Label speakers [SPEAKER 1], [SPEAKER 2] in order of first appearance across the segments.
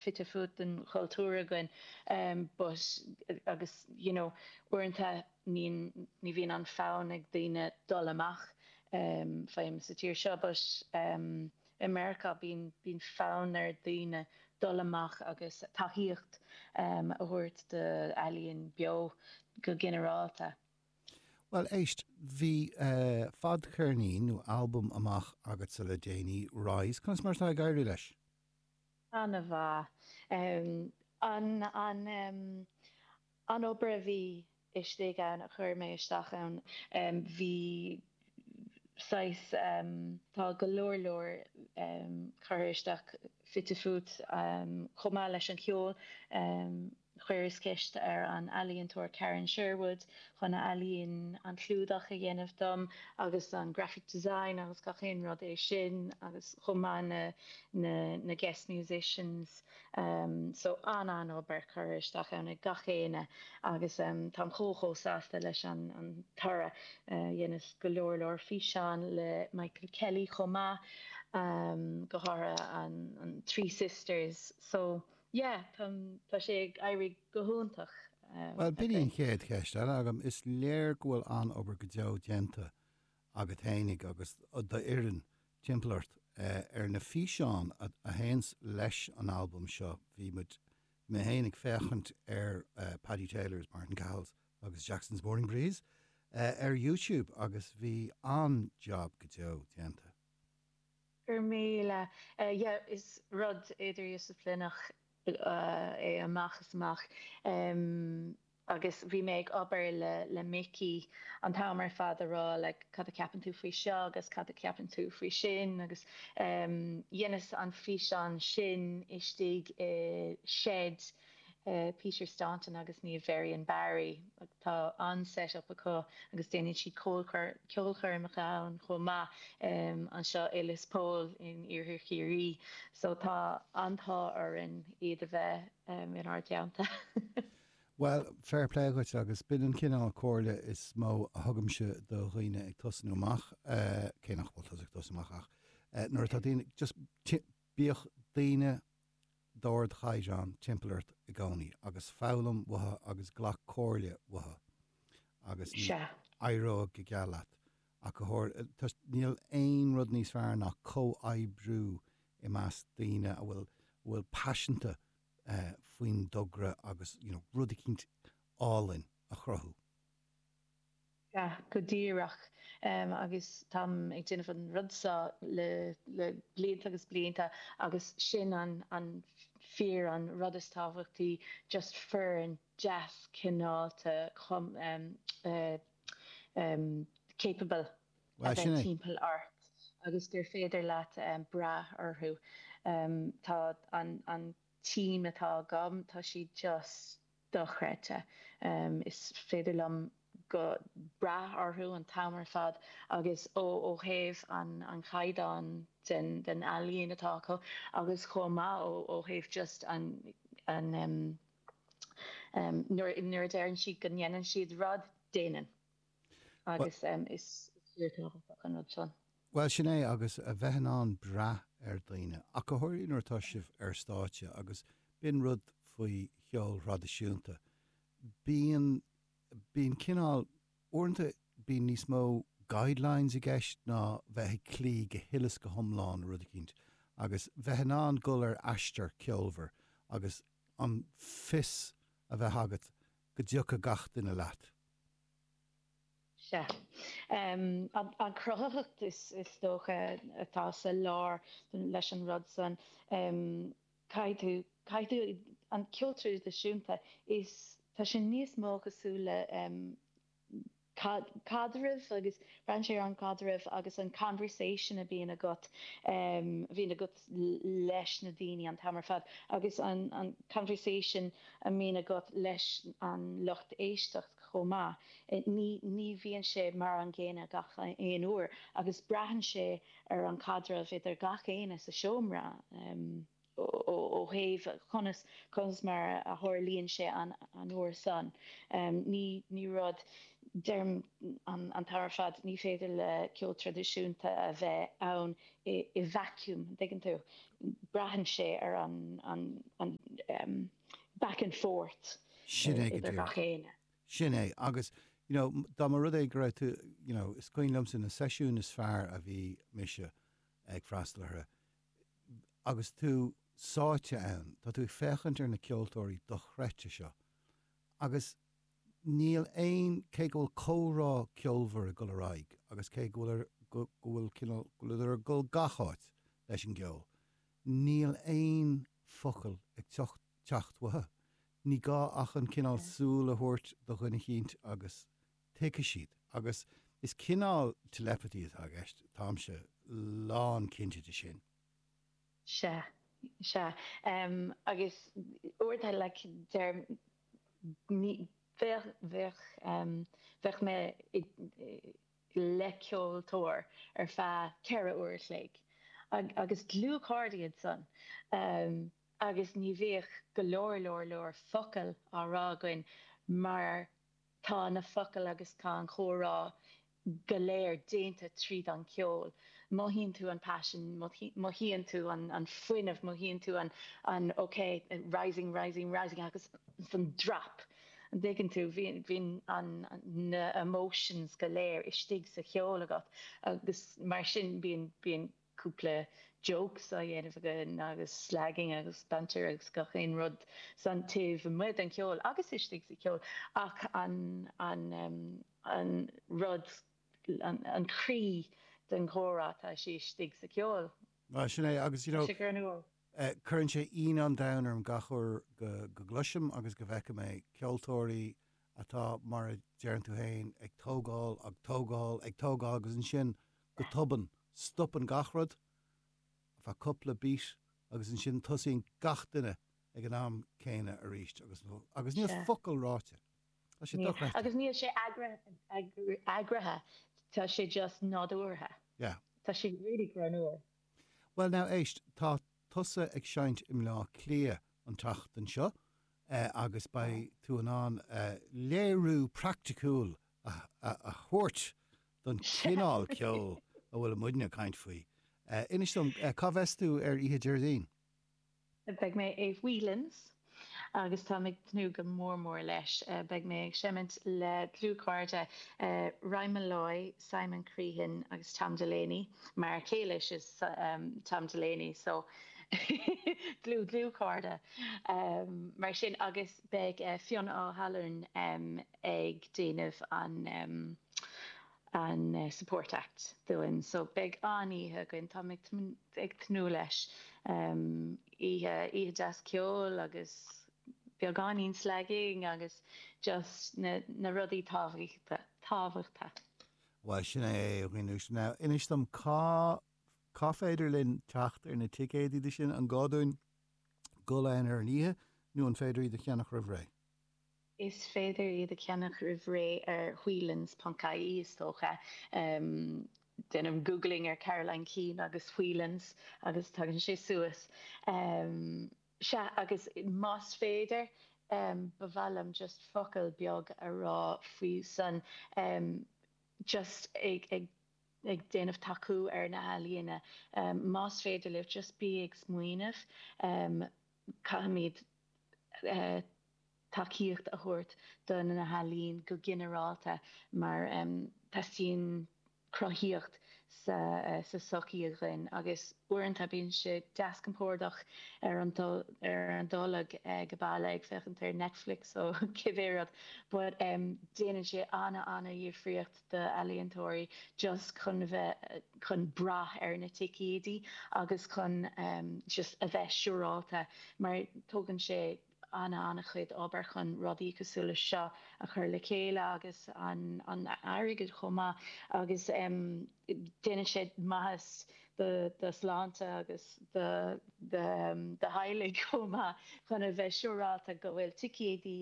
[SPEAKER 1] Fite fuaite den chultúr againn but agus you know uaireanta ní ní bhíonn an fonn ag daoine dul amach faighim sa tír seo but i Meiriceá bíonn bíonn fonn ar daoine dul amach agus tacaíocht a thabhairt d'ealaíon beo go ginearálta.
[SPEAKER 2] Bhuel, éist, bhí fadcheirnín nó albam amach agatsa le déanaí, Rise. Conas mar atá ag éirí leis?
[SPEAKER 1] An-mhaith. An an obair a bhí istigh ann, a chuir mé isteach ann, bhí saghas, tá go leor leor curtha isteach fite fuaite chomh maith leis an cheol. Chuireas ceist ar an ealaíontóir Karen Sherwood chun a ealaín, an clúdach a dhéanamh dom agus an graphic design agus gach aon rud é sin agus chomh maith na na na guest musicians so an-an-obair curtha isteach ann ag gach éinne agus táim chomh chomh sásta leis an an toradh. Dheineas go leor leor físeán le Michael Kelly chomh maith, go háirithe an an Three Sisters so Yeah, tá sé ag éirí go hiontach.
[SPEAKER 2] Bhuel, b'in í an chéad cheist eile agam. Is léir go bhfuil an-obair go deo déanta agat fhéinig agus d'fhoireann timpeall ort ar na físeáin a théanns leis an albam seo. Bhí muid, mé féin ag féachaint ar Paddy Taylor's, Martin Cahill's agus Jackson's Morning Breeze ar YouTube agus bhí an-jab go deo déanta.
[SPEAKER 1] Go raibh míle. Yeah, is rud idirdhisciplíneach é amach is amach. Agus bhí mé ag obair le le Mickey an t-am ar fad a rá like cad a cheapann tú faoi seo agus cad a cheapann tú faoi sin agus dheineas an físeán sin istigh i shed Peter Staunton agus Niamh Varian Barry. Tá an-set up acu agus déanann siad ceolchoirmeacha ann chomh maith anseo i Lios Póil in Iarthar Chiarraí. So tá an-t-ádh orainn iad a bheith inár dteannta.
[SPEAKER 2] Bhuel, fair play dhuit agus b'in an cineál comhairle is mó a thugaimse do dhaoine ag tosnú amach, cé nach bhfuil tusa ag tosnú amach ach nuair atá daoine, just bíodh daoine d'ardchaighdeán timpeall ort i gcónaí agus foghlaim uathu agus glac comhairle uathu agus ní éireoidh go geal leat ach go háirithe níl aon rud níos fearr ná comhoibriú i measc daoine a bhfuil bhfuil paiseanta faoin dtogra agus you know rud eicínt álainn a chruthú.
[SPEAKER 1] Sea, go díreach. Agus táim ag déanamh an rud seo le blianta agus blianta agus sin an an fíor an rud is tábhachtaí, just foireann deas cineálta capable a bheith timpeall ort agus gur féidir leat brath orthu. Tá an an team atá agam, tá siad just dochreidte. Is féidir liom go brath orthu an t-am ar fad agus ó ó thaobh an an chaighdeáin den den ealaín atá acu agus chomh maith ó ó thaobh just an an nuair nuair a deireann siad go ndéanann siad rud, déanann. Agus is fíorthábhachtach an rud sin.
[SPEAKER 2] Bhuel, sin é, agus a bheith in ann brath ar dhaoine, ach go háirithe nuair atá sibh ar stáitse, agus b'in rud faoi cheol thraidisiúnta, bíonn, bíonn cineál, uaireanta bíonn níos mó guidelines i gceist ná bheith ag cloí go huile is go hiomlán le rud eicínt, agus bheith in ann dul ar aistear ceolmhar agus an fios a bheith agat go dtiocfaidh gach duine leat.
[SPEAKER 1] Sea. An chruthaitheacht is dócha atá sa lár leis an rud san. Caithfidh tú, caithfidh tú, an ceol traidisiúnta, is, tá sé níos mó cosúil le caidreamh agus braitheann sé ar an gcaidreamh agus an conversation a bhíonn agat, a bhíonn agat leis na daoine an t-am ar fad agus an conversation a mbíonn agat leis an lucht éisteachta. chomh maith. Ní, ní bhíonn sé mar an gcéanna gach aon uair agus braitheann sé ar an caidreamh idir gach éinne sa seomra ó thaobh conas, conas mar a tharlaíonn sé an, an uair san. Ní, ní rud. Deirim an t-am ar fad, ní féidir le ceol traidisiúnta a bheith ann i vacuum, an dtuigeann tú? Braitheann sé ar an back and forth
[SPEAKER 2] Sin é go
[SPEAKER 1] idir
[SPEAKER 2] díreach.
[SPEAKER 1] gach éinne.
[SPEAKER 2] Sin é, agus you know, dá mba rud é go raibh tú, you know, is cuimhin liomsa na seisiúin is fearr a bhí mise ag freastal orthu, agus tú sáite ann, tá tú ag féachaint ar na ceoltóirí dochreidte seo agus níl aon, cé go bhfuil comhrá ceolmhar ag dul ar aghaidh agus cé go bhfuil, go bhfuil cineál, go bhfuileadar ag dul gach áit leis an gceol, níl aon focal ag teacht, teacht uathu. Ní gá ach an cineál súil a thabhairt do dhuine eicínt agus tuigfidh siad. Agus is cineál telepathy atá i gceist, táimse lán cinnte de sin.
[SPEAKER 1] Sea, sea. Agus uaireanta, like, deir, ní, bheadh, bheadh, bheadh mé i, le ceoltóir ar feadh 4 uair a chloig agus dlúthchairde iad san agus ní bhíodh go leor leor leor focal á rá againn mar tá na focail agus tá an chomhrá go léir déanta tríd an cheol. Mothaíonn tú an paisean, mothaíonn tú an fuinneamh, mothaíonn tú an ok, rising, rising, rising agus an drop. An dtuigeann tú? Bíonn an na emotions go léir istigh sa cheol agat agus mar sin bíonn bíonn cúpla jokes á dhéanamh againn agus slagging agus banter agus gach aon rud san taobh amuigh den cheol agus istigh sa cheol ach an an an rud an croí den chomhrá tá sé istigh sa cheol.
[SPEAKER 2] Bhuel sin é agus you know
[SPEAKER 1] Sé greannmhar.
[SPEAKER 2] cuireann sé ionadh an domhain orm gach uair go go gcloisim agus go bhfeicim é, ceoltóirí atá mar a deireann tú féin ag tógáil ag tógáil ag tógáil agus ansin go tobann, stopann gach rud ar feadh cúpla beat agus ansin tosaíonn gach duine ag an am céanna arís agus agus níl focal ráite. Tá sé dochreidte.
[SPEAKER 1] Agus níl sé eagraithe, tá sé just nádúrtha.
[SPEAKER 2] Yeah.
[SPEAKER 1] Tá sé really greannmhar.
[SPEAKER 2] Well now éist, tá tusa ag seinnt i mBleá Cliath an tseachtain seo agus beidh tú in ann léiriú praiticiúil a thabhairt don chineál ceoil a bhfuil muidne ag caint faoi. Inis dom, cá bheas tú ar oíche Déardaoin?
[SPEAKER 1] Beidh mé i Whelan's agus táim ag tnúth go mór mór leis. Beidh mé ag seimint le dlúthchairde Ryan Molloy, Simon Crehan agus Tom Delaney, m'fhear céile is ea Tom Delaney so dlúth dlúthchairde mar sin agus beidh Fionn Ó hAlmhain ag déanamh an an support act dúinn so beidh an-oíche againn, táim ag tnúth leis. Oíche, oíche deas ceoil agus beagáinín slagging agus just na na rudaí tábhachta, tábhachta.
[SPEAKER 2] Bhuel, sin é a dhaoine uaisle. Now, inis dom cá, cá féidir linn teacht ar na ticéidí de sin? An gá dúinn dul ann ar an oíche nó an féidir iad a cheannach roimh ré?
[SPEAKER 1] Is féidir iad a cheannach roimh ré ar whelans ponc ie is dócha. Déanaim googling ar Caroline Keane agus Whelans agus tagann sé suas. Sea, agus más féidir, ba mhaith liom just focal beag a rá faoi san, just ag ag ag déanamh tacú ar na healaíona. Más féidir libh, just bí ag smaoineamh. Caithfimid tacaíocht a thabhairt do na healaíon go ginearálta mar teastaíonn cruthaíocht sa sochaí againn agus uaireanta bíonn sé deas compordach ar an ar an dtolg ag baile ag féachaint ar Netflix ó cibé rud but déanann sé ana-ana-dhifríocht d'ealaíontóirí just chun bheith chun brath ar na ticéidí agus chun just a bheith siúrálta mar tógann sé ana-ana-chuid obair chun rudaí cosúil le seo a chur le chéile agus an an airgead chomh maith agus déanann sé maitheas do do shláinte agus do do do theaghlaigh chomh maith chun a bheith siúrálta go bhfuil ticéidí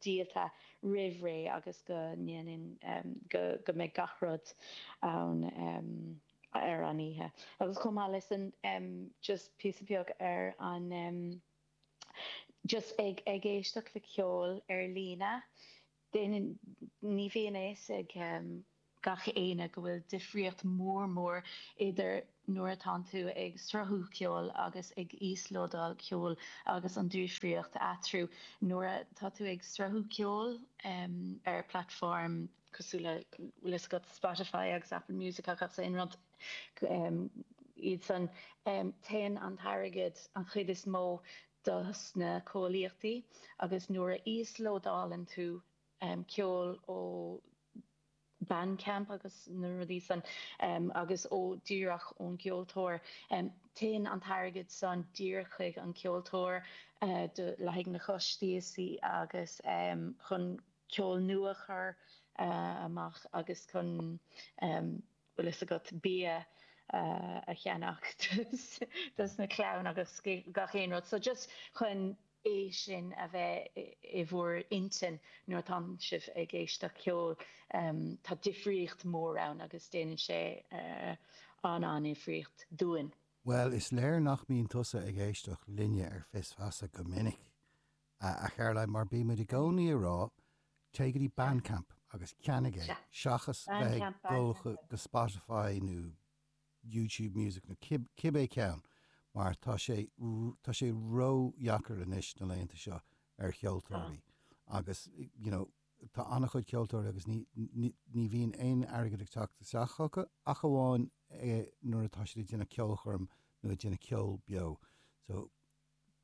[SPEAKER 1] díolta roimh ré agus go ndéanann go go mbeidh gach rud ann ar an oíche. Agus chomh maith leis an just píosa beag ar an just ag ag éisteacht le ceol ar líne. Déanann, ní bhíonn a fhios ag gach éinne go bhfuil difríocht mór mór idir nuair atánn tú ag sruthú ceoil agus ag íoslódáil ceoil agus an difríocht eatarthu. Nuair atá tú ag sruthú ceoil ar platform cosúil le, bhfuil fhios agat, Spotify agus Apple Music agus aon rud iad san, téann an t-airgead an chuid is mó dos na comhlachtaí agus nuair a íoslódálann tú ceol ó Bandcamp agus na rudaí san agus ó díreach ón gceoltóir, téann an t-airgead san díreach chuig an gceoltóir do le haghaidh na costais agus chun ceol nua a chur amach agus chun bhfuil fhios agat, bia a cheannach dos na clann agus gach aon rud. So just chun é sin a bheith i bhur intinn nuair atánn sibh ag éisteacht ceoil, tá difríocht mór ann agus déanann sé an-an-difríocht dúinn.
[SPEAKER 2] Bhuel, is léir nach mbíonn tusa ag éisteacht linne ar Fios Feasa go minic, a Charoline, mar bíonn muid i gcónaí ag rá, téigh go dtí Bandcamp agus ceannaigh é, seachas bheith ag dul go Spotify nó YouTube Music nó cibé ceann, mar tá sé, tá sé ródheacair anois na laethanta seo ar cheoltóirí agus, you know, tá an-chuid ceoltóirí agus ní, ní, ní bhíonn aon airgead ag teacht isteach chucu ach amháin nuair atá siad ag déanamh ceolchoirm nó ag déanamh ceol beo. So,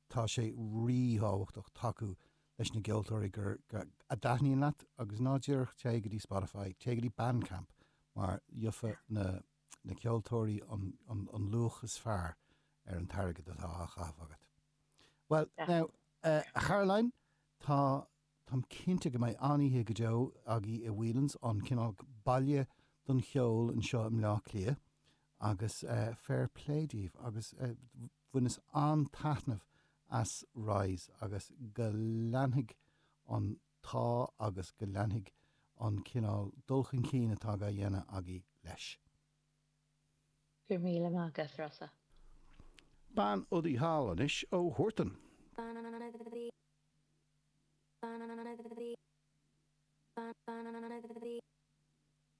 [SPEAKER 2] tá sé ríthábhachtach tacú leis na gceoltóirí gur, a dtaitníonn leat agus ná díreach téigh go dtí Spotify, téigh go dtí Bandcamp mar gheofaidh na, na ceoltóirí an, an, an luach is fearr ar an t-airgead atá á chaitheamh agat. Bhuel, now, a Charoline, tá Táim cinnte go mbeidh an-oíche go deo agaibh i Whelan's, an cineál baile don cheol anseo i mBleá Cliath agus fair play daoibh agus bhaineas an-taitneamh as Rise agus go leanfaidh an t-ádh agus go leanfaidh an cineál dul chun cinn atá á dhéanamh agaibh leis.
[SPEAKER 1] Go raibh míle maith agat, Rossa.
[SPEAKER 2] Bean udaí thall anois ó Huartan.